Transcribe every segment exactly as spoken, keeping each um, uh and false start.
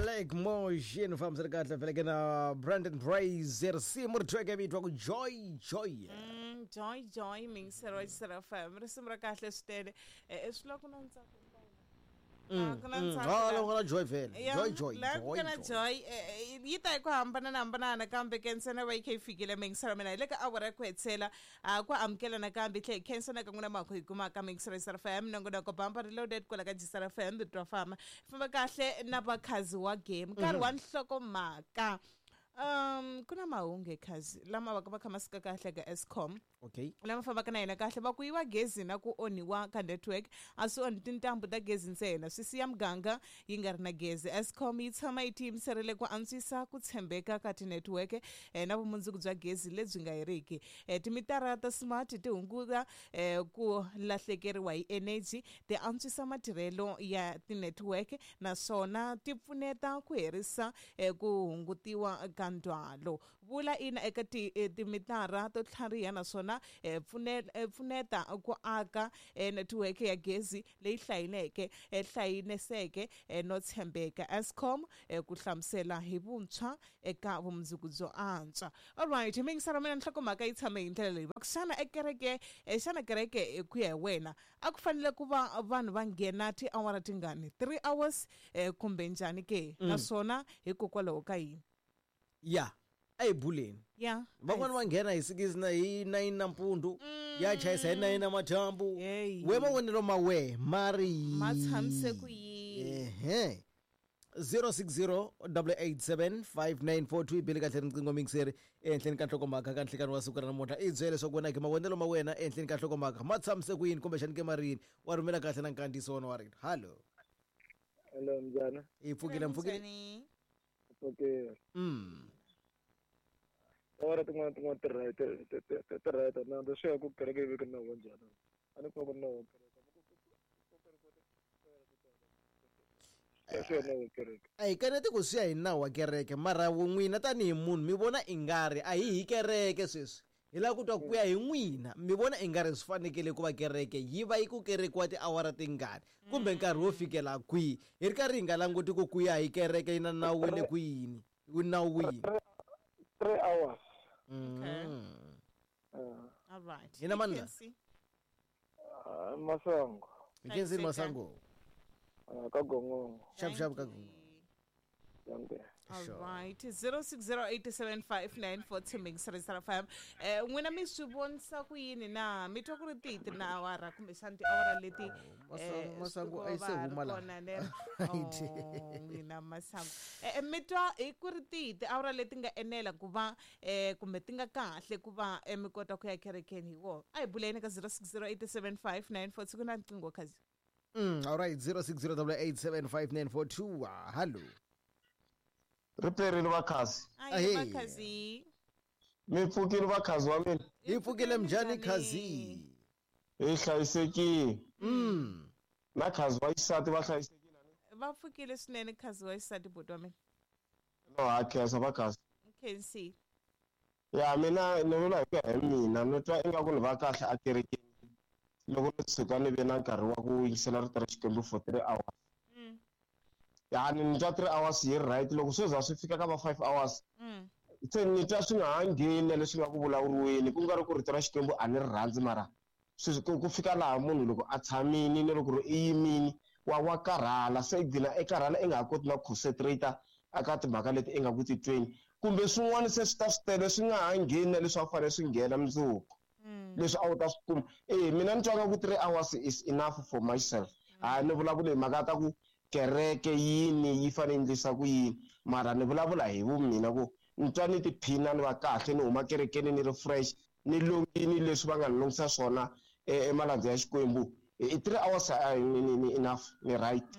Black Motion fambisana kahle vhele ke na Brandon Brazier risimu ri tweke vito ku Joy Joy. Mm, Joy Joy mingisero wa F M risimu ra kahle swinene eh swi loko na ntsako. Mm, mm. Ah, loko na Joy vhele. Joy Joy Joy. Na Joy yi ta ku hambana na hambana kambe ke ntsena va yi kha yi fikile mingisero mina hi le ka awara ku hetsela ku amukela nakambe tlhe khensa na kan'wina makho hi kuma ka mingisero ya F M nongonoko bamba reloaded kwala ka G F M twa fama famba kahle na vakhazi wa game nkarhi wa nhlokomhaka. Um kuna mahungu ekhazi lama va ka va kha ma sika kahle ka Eskom. Okay. Lama fambaka na yena kahle va ku yiwa gezi na ku onhiwa ka network a swi onhi tintambu ta gezi ntsena swi siya muganga yi nga ri na gezi. Eskom yi tshama yi tiyimiserile ku antswisa ku tshembeka ka tinetwork eh, na vumundzuku bya gezi lebyi nga heriki. Eh, timitara ta smart ti hunguta eh, ku lahlekeriwa hi energy, ti antswisa matirhelo ya tinetwork naswona ti pfuneta ku herisa eh, ku hungutiwa ka ndzhwalo. Vula ina eka ti timitara to tlhariha naswona pfuneta ku aka network ya gezi leyi hlayineke hlayineseke no tshembeka. Eskom ku hlamusela hi vuntshwa eka vumundzuku byo antswa. Alright, mingisara mina nhlokomhaka yi tshame hi ndlela leyi. Va ku xana ekereke xana kereke ku ya hi wena a ku fanele ku va vanhu va nghena tiawara tingani three hours kumbe njhani ke naswona hikokwalaho ka yini? Ya a hi buleni. Ya van'wana va nghena hi six na hi nine nampundzu ya chayisa hi nine namadyambu. We mavonelo ma we mari ma tshamise ku yini? Ehe zero six zero eight eight seven five nine four two bele kahle riqingho mingiseri ehenhleni ka nhlokomhaka ka nhlikani wa siku ra namuntlha i byele leswaku wena ke mavonelo ma wena ehenhleni ka nhlokomhaka ma tshamise ku yini kumbexani ke marini wa rhumela kahle na nkandziyiso wona wa rito. Hallo. Hello mjana. Hi pfukile mpfukile. Okay. Mm. Ora tin'wana tin'wana ti right ti right na ndzi swi ya ku kereke yi veke nawu wa njhani a ni kuma ku nawu wa kereke a hi kaneti ku swi ya hi nawu wa kereke mara n'wina tanihi munhu mi vona i nga ri a hi hi kereke sweswi hi lava ku twa ku ya hi n'wina mi vona i nga ri swi fanekele ku va kereke yi va yi ku kerekiwa tiawara tingani kumbe nkarhi wo fikela kwihi hi ri karhi hi nga languti ku ku ya hi kereke yi na nawu wa le kwini wu nawu wini. Three hours. Okay. Mm. Uh, All right. Yena mani? Uh, Masango. Nkenzi Masango. Uh, ka Gongongo. Shap shap ka Gongongo. All sure. Right. zero six zero eight seven five nine four two Mixer F M. Eh n'wina mi swi vonisa ku yini na mi twa ku ri tihi na awara kumbexana tiawara leti Masango a yi se huma laha. N'wina Masango eh mi twa hi ku ri tihi tiawara leti nga enela ku va eh kumbe ti nga kahle ku va mi kota ku ya kerekeni hi wona. A hi buleni ka zero six zero eight seven five nine four two ku na nqingho khazi. Mm, all right zero six zero eight seven five nine four two. Hello. Riperile vakhazi. Ayi vakhazi. Mi pfukile vakhazi wa mina. Hi pfukile mjani khazi. Hi hlayisekile. Mm. Na khazi wa xisati va hlayisekile ni. Va pfukile swinene khazi wa xisati buti wa mina. No ha khensa vakhazi. Khensi. Ya mina ni vula hi ku ya hi mina ni twa ingaku ni va kahle a kerekeni loko ni tshuka ni ve na nkarhi wa ku yingisela rito ra Xikwembu for three hours. Mm. Ya ni twa three hours yi right loko swi za swi fika ka va five hours mm. Se ni twa swi nga ha ngheni leswi nga ku vulavuriweni ku nga ri ku rito ra Xikwembu a ni ri rhandzi mara sweswi ku fika laha munhu loko a tshamini ni loko ri i yimini wa wa karhala se i gcina i karhala i nga ha koti na ku concentrate aka timhaka leti i nga ku titweni kumbe swin'wana se swi ta swi tele swi nga ha ngheni na leswi a fanele swi nghena mundzuku leswi a wu ta swi kuma. Eh mina ni twa nga ku three hours is enough for myself. A ni vulavuli hi mhaka ta ku kereke yini yi fanele endlisa ku yini mara ni vulavula hi vumina ku ni twa ni tiphina ni va kahle ni huma kerekeni ni ri fresh ni longini leswi va nga ni longisa swona emalandza ya Xikwembu. I three hours ni ni enough ni right.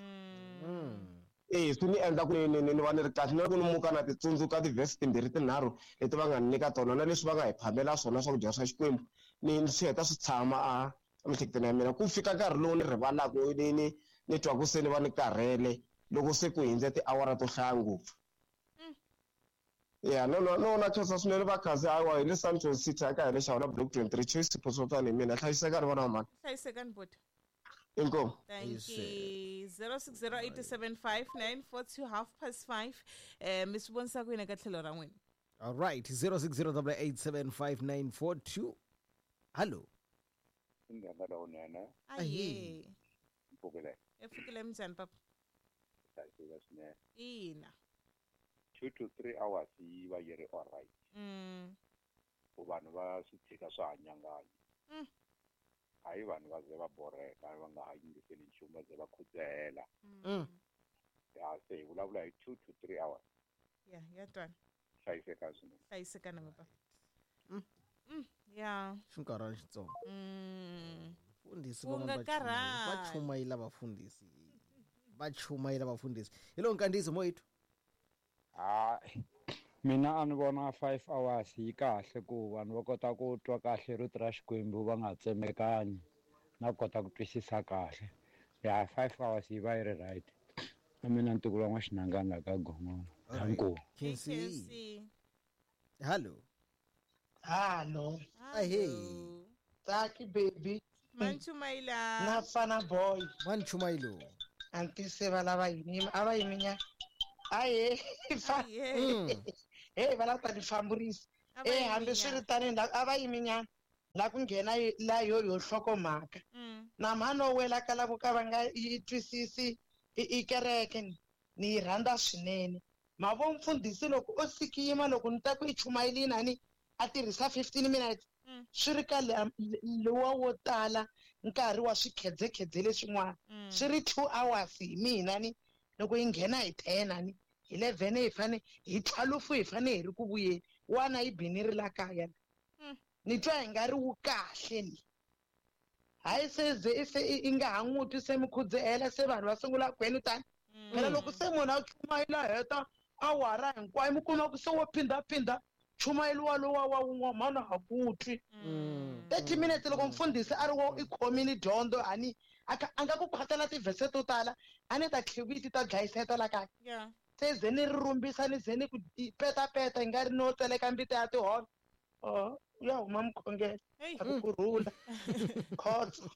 Eh swi ni endla ku ni ni ni va ni ri kahle na loko ni muka na titsundzuka ti-verse timbirhi tinharhu leti va nga ni nyika tona na leswi va nga hi phamela swona swakudya swa Xikwembu ni ni swi heta swi tshama a emiehleketweni ya mina ku fika nkarhi lowu ni rivalaka ni ni ni twa ku se ni va ni karhele loko se ku hindze tiawara to hlaya ngopfu. Ya no no no na khensa swinene vakhazi hawa hi le Sandton City aka hi le Xawula block twenty-three Choice Sipho Sotani mina hlayisekani vana va mhani. Hlayisekani buti. Inkomu. Thank you. zero six zero eight seven five nine four two half past five. Eh mi swi vonisa ku yini ka tlhelo ra n'wina? All right, zero six zero eight seven five nine four two. Hello. Inganga lowunene. Aye. Mpfukile. Epfukile minjhani papa? Hlayiseka swinene. Ina. Two to three hours yi va yi ri all right. Mm. Ku vanhu va swi tshika swa hanyanganya. Mm. Hayi vanhu va ze va borheka va nga ha yingiseli nchumu va ze va khudzahela. Mm. Ya se hi vulavula hi two to three hours. Ya, ya twala. Hlayiseka swinene. Hlayiseka na papa. Mm. Mm, ya. Xinkarhana xitsongo. Mm. Fundisi U nga van'wana va chumayela, va karhali. chumayela vafundhisi. Va chumayela vafundhisi. Hi lo nkandziyiso moyithu. Hayi mina a ni vona five hours yi kahle ku vanhu va kota ku twa kahle rito ra Xikwembu va nga tsemekanyi na ku kota ku twisisa kahle. Ya five hours yi va yi ri right. Na mina ntukulu wa N'waxinangana la ka Gongola. Danko. Khensi. Khensi. Hello. Hello. Ahey. Taki baby. Manchumayila. Na fana boy. Manchumayilo. Anti se va lava yini a va yiminya. Aye. Aye. Hey va lava ta famburisa. A va Eh hambi swi ri tani la a va yiminya la ku nghena la yo yo hlokomhaka. Mm. Na mhano wela ka lavo ka va nga yi twisisi i kereke ni ni yi rhandza swinene. Mavo mfundhisi loko o sikima loko ni ta ku i chumayelini ani a tirhisa fifteen minutes. Mm. Swi ri ka lowa wo tala nkarhi wa swikhedzekhedze leswin'wana. Mm. Swi ri two hours hi mina ni loko yi nghena hi ten ani eleven hi fane hi twelve hi fane hi ri ku vuyeni wana yi bini ri la kaya. Mm. Ni twa hi nga ri wu kahle ni. Hayi se ze se i nga ha n'wi twi se mi khudzehela se vanhu va sungula kwenu tani. Phela loko se munhu a chumayela heta awara hinkwayo mi kuma ku se wo phindaphinda chumayeliwa lowa wa wun'we mhana ha ku twi. thirty minutes loko mfundhisi a ri wo i khomile dyondzo ani a nga ku khwatela tivhese to tala a ni ta tlhiviti ta dlayiseta la kaya. Yeah. Se ze ni ri rumbisa ni ze ni ku petapeta hi nga ri no tseleka mbita ya tiholo. Oh, ya huma mukhongelo. A ku kurhula. Khotso.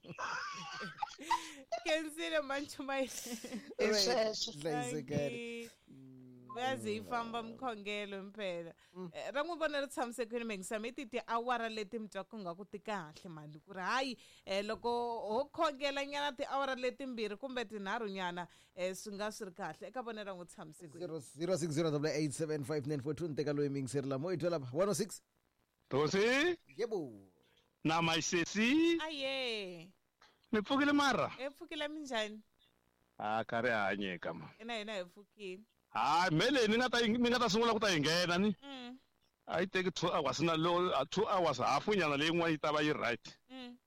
Kenzile manchumayela. I sweswo. Hlayisekani. Vazi yi famba mukhongelo impela. Ra n'wi vona ri tshamisekile mingisami i ti tiawara leti mi twaka nga ku ti kahle mali ku ri hayi loko ho khongela nyana tiawara letimbirhi kumbe tinharhu nyana swi nga swi ri kahle eka vona ra n'wi tshamisekile. zero six zero eight seven five nine four two ni teka loyi mingiseri la moyithu lapa one oh six. Tosi. Yebo. Na my sesi. Aye. Mi pfukile mara? E pfukile minjhani? Ah ka ri hanyeka ma. Ina hina hi pfukile. Hayi mele ni nga ta ni nga ta sungula ku ta yi nghena ni. Mm. A yi teki two hours na lo two hours hafu nyana leyi yin'wana yi ta va yi right. Mm.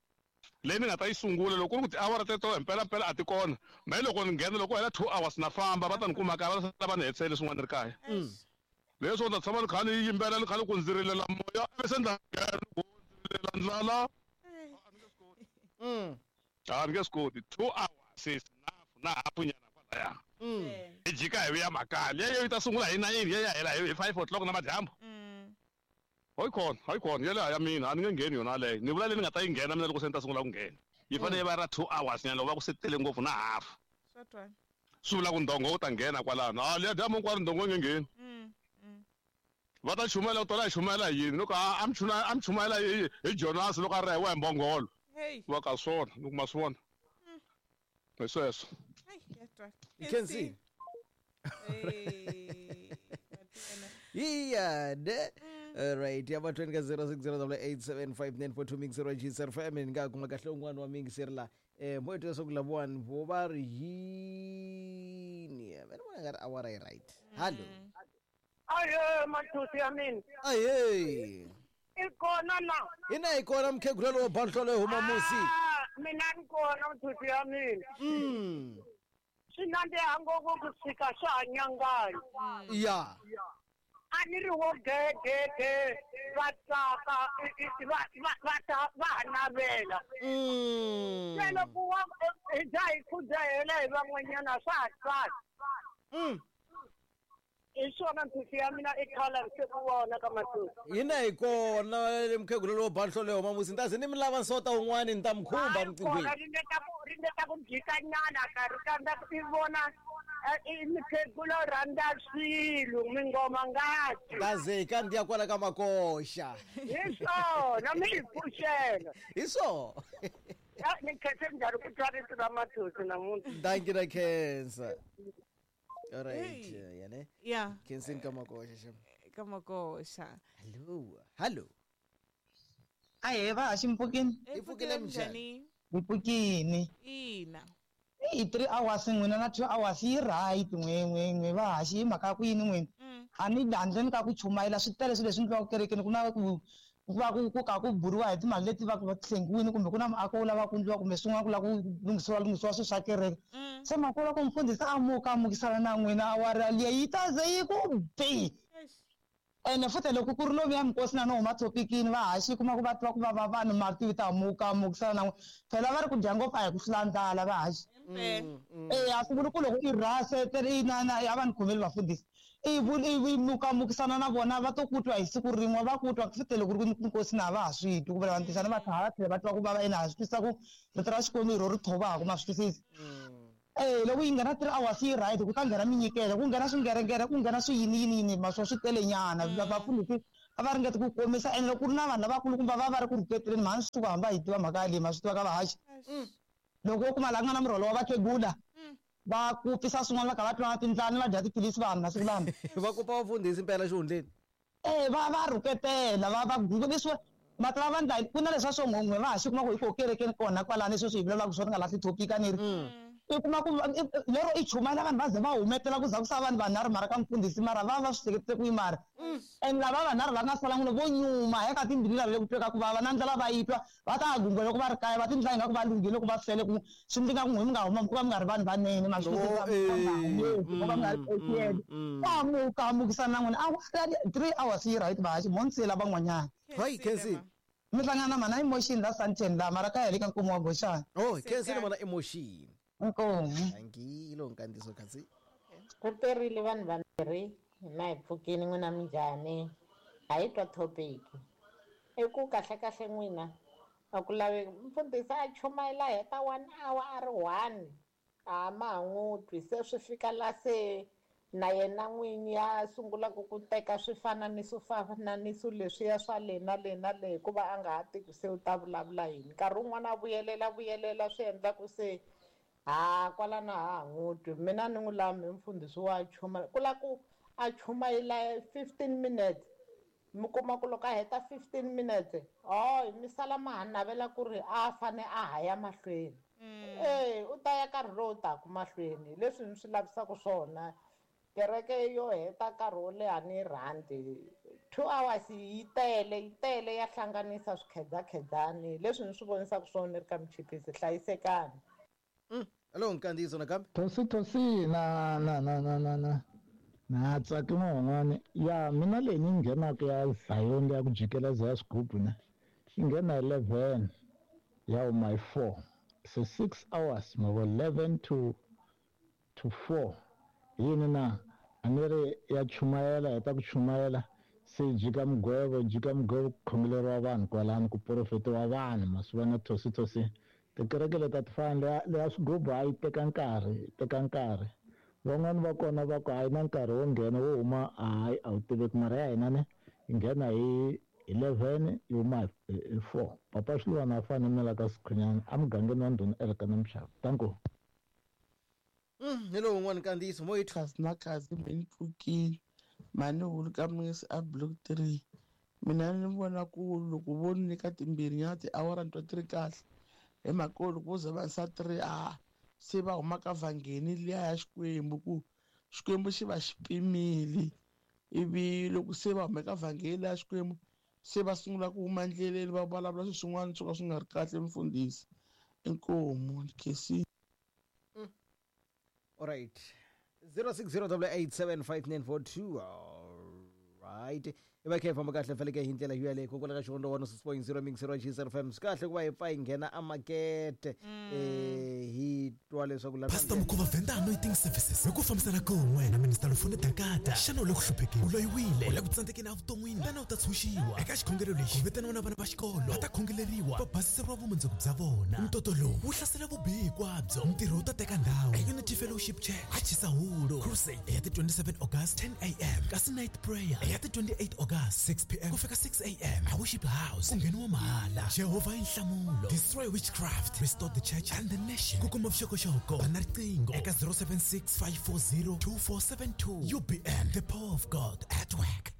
Leyi ni nga ta yi sungula loko ku ri ku tiawara teto himpela mpela a ti kona. Me loko ni nghena loko hela two hours na famba va ta ni kuma kaya va ta va ni hetisele swin'wana ri kaya. Mm. Leswo ta tshama ni kha ni yimbela ni kha ni ku ndzi rilela moya ivi se ndza nghena ku ndzi rilela ndlala. Mm. A ni nge swi koti two hours is enough na hafu nyana kwalaya. Mm. Hi jika hi vuya makaya leyo yi ta sungula hi nine yi ya hela hi five o'clock na madyambu. Hayi kona hayi kona yeleyo ya mina a ni nge ngheni yona leyo ni vula leyi ni nga ta yi nghena mina loko se ni ta sungula ku nghena yi fanele yi va ra two hours nyana loko va ku se tele ngopfu na half. Swa twala. Swi vula ku ndongo wu ta nghena kwalano a liya dyambu hinkwaro ndongo yi nge ngheni. Mm. Mm. Va ta chumayela ku tola hi chumayela hi yini loko a mi a mi chumayela hi hi Jonas loko a ri hi wa hi mbongolo. Hey. Va ka swona ni kuma swi vona. Hi sweswo. Ai, ya twala. You can see. Hey. Yeah, ne? All right. Ya mathweni ka zero six zero eight seven five nine four two mixer wa G S F M ni nga kuma kahle un'wana wa mingiseri la. Eh moyito leswaku lavawani vo va ri yini? Mina vona nga ri awara yi right. Hello. Aye, mathusi ya mina. Aye. I kona na. Ina hi kona mukhegula lowo banhlolo yo huma musi. Mina ni kona mathusi ya mina. Mm. Swi nandziha ngopfu ku fika swa ha nyanganya. Ya. A ni ri wo gegege va tsaka va va va ta va ha navela. Mm. Se loko wa hi dya hi khudzahela hi van'wanyana swa ha tsaka. Mm. I swona mphisi ya mina i khala se ku vona ka matusi. Hina hi kona mukhegula lowo banhlo leyo mamusi ni ta ze ni mi lava nsota wun'wani ni ta mi khumba riqinghweni. Ringeta ku ringeta ku jikanyana karhi kambe i vona i mukhegula rhandza swilo mingoma ngati. Kaze ka ndiya kwala ka makoxa. Hi swona mi hi pfuxela. Hi swona. Ni khense njhani ku twa rito ra matusi namuntlha. Dankie na khensa. All right, hey. Yane. Yeah. Kensini kamakosha shem. Kamakosha. Hello. Hello. Aye va ximpfukini. Ipfukile mjani? Ipfukini. Ina. I three hours n'wina na two hours yi right n'we n'we n'we va haxi hi mhaka ku yini n'wina. A ni handleni ka ku chumayela swi tele swilo leswi endliwaka kerekeni ku na ku ku va ku ku ka ku buriwa hi timali leti va ku va hlengiwile kumbe ku na muako wu lava ku endliwa kumbe swin'wana ku lava ku lunghisiwa lunghisiwa swilo swa kereke. Se mhaka loko mfundhisi a muka a mukisana na n'wina awara liya yi ta ze yi ku bi. Ene futhi loko ku ri lomuya minkosi na no huma thopikini va haxi kuma ku va twa ku vava vanhu mati ta muka mukisana na n'wina phela va ri ku dya ngopfu a hi ku hlula ndlala va haxi. Eh a swi vuli ku loko i rhase i na na a va ni khomeli vafundhisi i i muka mukisana na vona va to ku twa hi siku rin'we va ku twa futhi loko ku ri nkosi na va ha swi twi ku vula vantisana va tlhela va tlhela va twa ku vava ene ha swi twisisa ku rito ra Xikwembu hi ro ri thovaka ma swi twisisa. Eh loko yi nghena three hours yi right ku ta nghena minyikelo ku nghena swingerengere ku nghena swi yini yini yini ma swo swi tele nyana vafundhisi a va ringeti ku komisa ene loko ku ri na vanhu lavakulukumba va va ri ku rhuketeleni mhani swi suka hamba hi tiva mhaka yaleyi ma swi tiva ka vahaxi. Loko wo kuma laha ku nga na murholo wa vakhegula va ku pfisa swin'wana va kha va twa na tindlani va dya tiphilisi vanhu masiku lama. Va kupa vafundhisi mpela xihundleni. Eh va va rhuketela va va leswi mati va vandla ku na leswa swo n'we va haxi kuma ku hi ko kerekeni kona kwalani sweswi hi vulavulaka swona nga lahli topic a ni ri. I kuma ku lero i chumayela vanhu va ze va humetela ku za ku sala vanhu vanharhu mara ka mfundhisi mara va va swi hleketise ku yi mara. And lava vanharhu va nga sala n'wina vo nyuma hi ka timbilu lava le ku tweka ku vava na ndlela va yi twa va ta gungula loko va ri kaya va tindlela ingaku va lunghile loko va fele ku swi ndzi nga ku n'we mi nga huma ku va mi nga ri vanhu vanene ma swi twisisa ku va mi nga ri etiyele. Va muka mukisana na n'wina a three hours yi right va haxi mo nsela van'wanyana. Hayi Khensi. Mi hlangana na mana emotion la Sandton la mara kaya le ka nkomo wa Goxana. Oh Khensi ni mana emotion. Inkomu. Dankie lo nkandziso khatsi. Ku terile vanhu vambirhi hina hi pfukini n'wina minjhani a hi twa topic. I ku kahle kahle n'wina a ku laveki mfundhisi a chumayela heta one hour a ri one a ma ha n'wi twi se swi fika la se na yena n'winyi a sungulaka ku teka swifananiso fananiso leswiya swa le na le na le hikuva a nga ha tivi se u ta vulavula yini nkarhi wun'wana a vuyelela vuyelela swi endla ku se ha kwalano ha ha n'wi twi mina ni n'wi lami mfundhisi wa chumayela ku la ku a chumayela fifteen minutes mi kuma ku loko a heta fifteen minutes oh mi sala ma ha navela ku ri a fane a ha ya mahlweni eh u ta ya nkarhi lowu taka mahlweni leswi ni swi lavisaka swona kereke yo heta nkarhi wo leha ni rhandi two hours yi tele yi tele ya hlanganisa swikhedzakhedzani leswi ni swi vonisaka swona ni ri ka michipisi hlayisekani. Hello nkandziso nakambe. Thosi thosi na na na na na na na tsaki n'wan'wani ya mina leyi ni nghenaka ya Zion ya ku jikeleza ya swigubu ne yi nghena eleven ya huma hi four so six hours mavo eleven to to four yini na a ni ri ya chumayela heta ku chumayela se jika mugwevo jika mugwevo ku khongeleriwa vanhu kwalano ku porofetiwa vanhu ma swi vona thosi thosi tikereke leti a ti fani leya leya swigubu a yi teka nkarhi yi teka nkarhi van'wani va kona va ku a yi na nkarhi wo nghena wo huma hayi a wu tiveki mara ya hina ne yi nghena hi eleven yi huma hi four papa Xilwana a fane na la ka Sikhunyana emugangeni wa Ndhuna Elkana Mxava tanko. Mm hello un'wana nkandziyiso mo yi kasi na kasi mi ni pfukile mhani hulu ka misi a block three mina ni vona ku loko vo ni nyika timbirhi nyana tiawara ni twa ti ri kahle hi mhaka loko vo za va yisa three a se va huma ka vhangeni liya ya Xikwembu ku Xikwembu xi va xi pimile ivi loko se va huma ka vhangeni liya ya Xikwembu se va sungula ku huma endleleni va vulavula swilo swin'wana swo ka swi nga ri kahle mfundhisi inkomu khesi. All right. zero six zero eight eight seven five nine four two. All right. I va kha hi famba kahle faneleke hi ndlela yaleyo kokwala ka xivondo one six point zero mix zero G F M swi kahle ku va hi pfa hi nghena emakete eh hi twa leswaku la Pastor Mukhuva Venda Anointing Services hi ku fambisana kun'we na Minister Lufuni Dakata xana u le ku hluphekeni u loyiwile u le ku tsandzekeni evuton'wini tana u ta tshunxiwa eka xikhongelo lexi ku vitaniwa na vana va xikolo va ta khongeleriwa va basiseriwa vumundzuku bya vona ntoto lowu wu hlasela vubihi hinkwabyo ntirho wu ta teka ndhawu e Unity Fellowship Church a Chisahulu Crusade ya ti twenty-seven August ten A M kasi night prayer ya ti twenty-eight August six P M ku fika six A M a worship house ku ngheniwa mahala Jehovah i nhlamulo destroy witchcraft restore the church and the nation ku kuma vuxokoxoko va na riqingho eka zero seven six five four zero two four seven two U B M the power of God at work.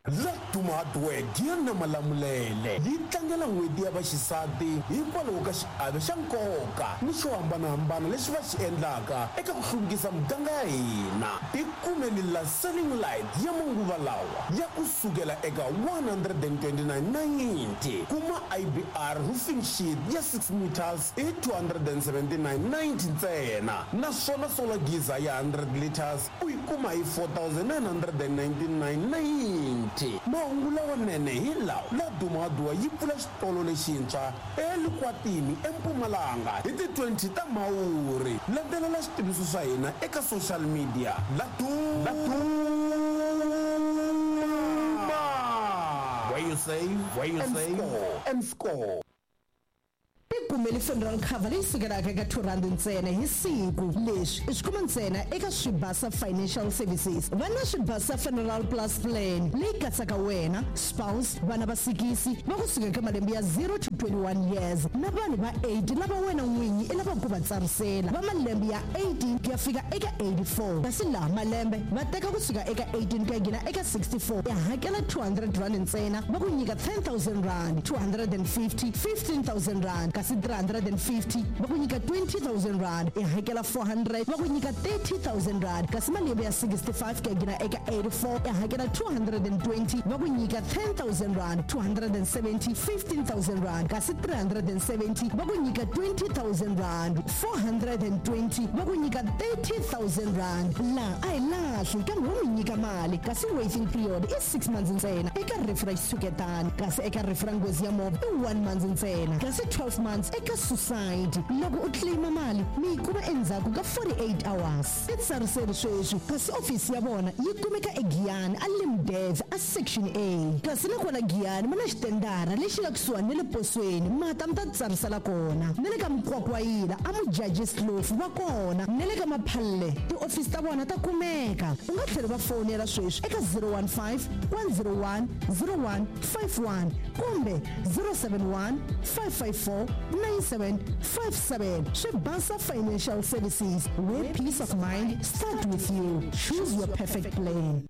Laduma Hardware ya Malamulele yi tlangela n'hweti ya vaxisati hikwalaho ka xiave xa nkoka ni xo hambanahambana lexi va xi endlaka eka ku hluvukisa muganga ya hina. Tikumeni la selling light ya manguva lawa ya kusukela eka one hundred and twenty-nine ninety kuma I B R roofing sheet ya six meters i two hundred and seventy-nine ninety ntsena naswona solar geyser ya hundred liters u yi kuma hi four thousand nine hundred and ninety-nine ninety. Mahungu lawanene hi lawa Laduma Hardware yi pfula xitolo lexintshwa eLikwatini eMpumalanga hi ti twenty ta Mhawuri. Landzelela xitiviso swa hina eka social media Laduma where you save where you save and score. Tikumeli funeral cover leyi sukelaka eka two rand ntsena hi siku. Leswi i swi kuma ntsena eka Swibasa Financial Services. Va na Swibasa Funeral Plus Plan leyi katsaka wena, spouse, vana va sikisi va kusuka eka malembe ya zero to twenty-one years na vanhu va eight lava wena n'winyi i lavaka ku va tsarisela va malembe ya eighteen ku ya fika eka eighty-four. Kasi laha malembe va teka kusuka eka eighteen ku ya nghena eka sixty-four ya hakela two hundred rand ntsena va ku nyika ten thousand rand, two hundred and fifty, fifteen thousand rand kasi three hundred and fifty va ku nyika twenty thousand rand i hakela four hundred va ku nyika thirty thousand rand kasi malembe ya sixty-five ku ya nghena eka eighty-four i hakela two hundred and twenty va ku nyika ten thousand rand, two hundred and seventy, fifteen thousand rand kasi three hundred and seventy va ku nyika twenty thousand rand, four hundred and twenty va ku nyika thirty thousand rand. Laha a hi lahli kambe wo mi nyika mali kasi waiting period i six months ntsena eka rifu ra xitshuketani kasi eka rifu ra nghozi ya movha i one month ntsena kasi twelve months eka suicide. Loko u claima mali mi yi kuma endzhaku ka forty-eight hours. I tsariseri sweswi kasi ofisi ya vona yi kumeka eGiyani a Limdev a section A kasi na kona Giyani ma na xitendara lexi nga kusuhani na le posweni mata mi ta tsarisela kona na le ka Mkwakwayila a Mujaji Slofu va kona na le ka Maphalle tiofisi ta vona ta kumeka. U nga tlhela va fonela sweswi eka zero one five one zero one zero one five one kumbe zero seven one five five four nine seven five seven. Swibasa Financial Services, where peace of mind start with you. Choose your perfect plan.